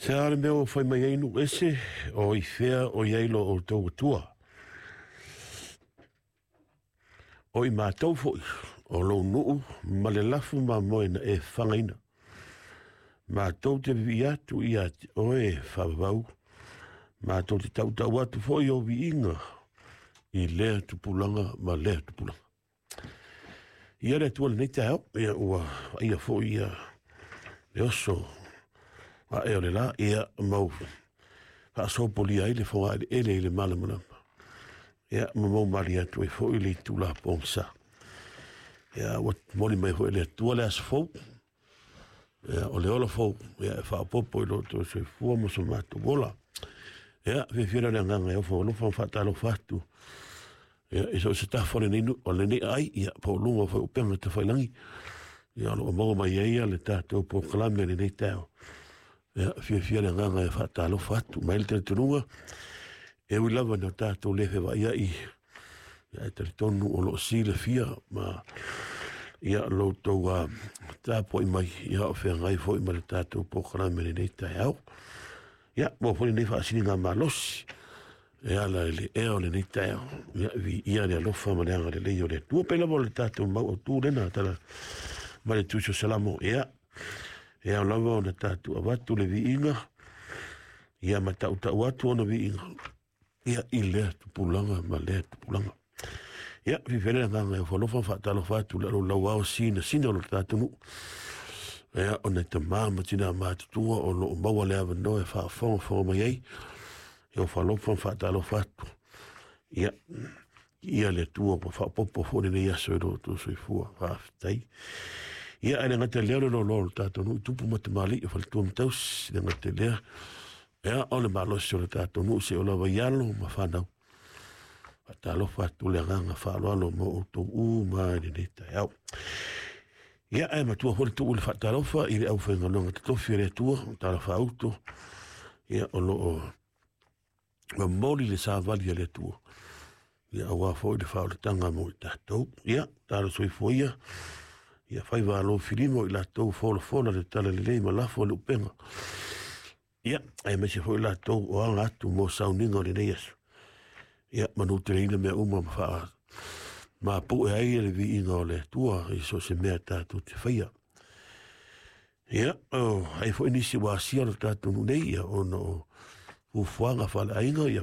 Se a le mea ua fai mai ai nuu ese, o i fea o i ai lo outou Atua? O i matou foi, o lou nuu ma le lafu mamoe na e fagaina. Matou te vivii atu ia te oe e faavavau, matou te tautau atu foi ou viiga i lea tupulaga ma lea tupulaga. Ia le Atua lenei taeao, ia ua vaaia foi ia le oso ae o le la, ia mau faasopolia ai le fogaeleele i le malamalama. Ia ma mau malie atu ai foi le itula pogisa. Ia ua momoli mai foi e le Atua le aso fou, ia o le ola fou, ia e faaopoopo i lo outou soifua ma so matou ola. Ia, fiafia lea o le agaga e ofo alofa ma faatalofa atu. Ia, i so o se tafa o lenei, o lenei ai, ia, po o luga o foi upega tafailagi. Ia, o lo o maua mai ai le tatou polokalame i lenei taeao. Ia, fiafia le agaga e faatalofa atu mai le talitonuga. E ui lava ina tatou le fevaaiai, ia, e talitonu o lo o silafia ma ia lo outou tapuai mai, ia o feagai foi ma le tatou polokalame i lenei taeao. Ia, maua foi lenei faasiliga malosi e ala i le ea o lenei taeao. Ia, viia le alofa ma le agalelei o le Atua. Pei lava o le tatou mau autu lena tala mai le Tusi o Salamo. Ia, e ao lava ona tatou avatu le viiga, ia ma tautau atu ona viiga, ia i lea tupulaga ma lea tupulaga. Ia, fiafia le agaga e ofo alofa ma faatalofa atu i le alolauao sinasina o lo tatou nuu. Ia, ona e tama ma tina matutua o lo o maua le avanoa e faafogafoga mai ai. E ofo alofa ma faatalofa atu. Ia, ia le Atua ua faaopoopo foi lenei aso i lo outou soifua. Faafetai. Ia, ae le gata i lea o le loaloa o le tatou nuu i tupu ma tamalii o faletua ma tausi. Le gata i lea, ia, o le malosi o le tatou nuu seia oo lava i alo ma fanau. Faatalofa atu le agaga faaaloalo mo outou uma i lenei taeao. Ia, ae matua foi le tuu i le faatalofa i le aufaigaluega totofi a le Atua, talafaauto, ia, o lo o momoli le savali a le Atua, ia, aua foi le faaolataga mo i tatou. Ia, talo soifua ia, ia faiva alofilima o i latou folafola le talalelei ma lafo le upega. Ia, aemaise foi latou o aga atu mo sauniga o lenei aso. Ia, manuteleina mea uma ma faa mapu'e ai le viiga o le Atua i so o se mea tatou te faia. Ia, o ai foi nisi ua asia lo tatou nuu nei, ia, ona o fuafuaga faaleaiga, ia.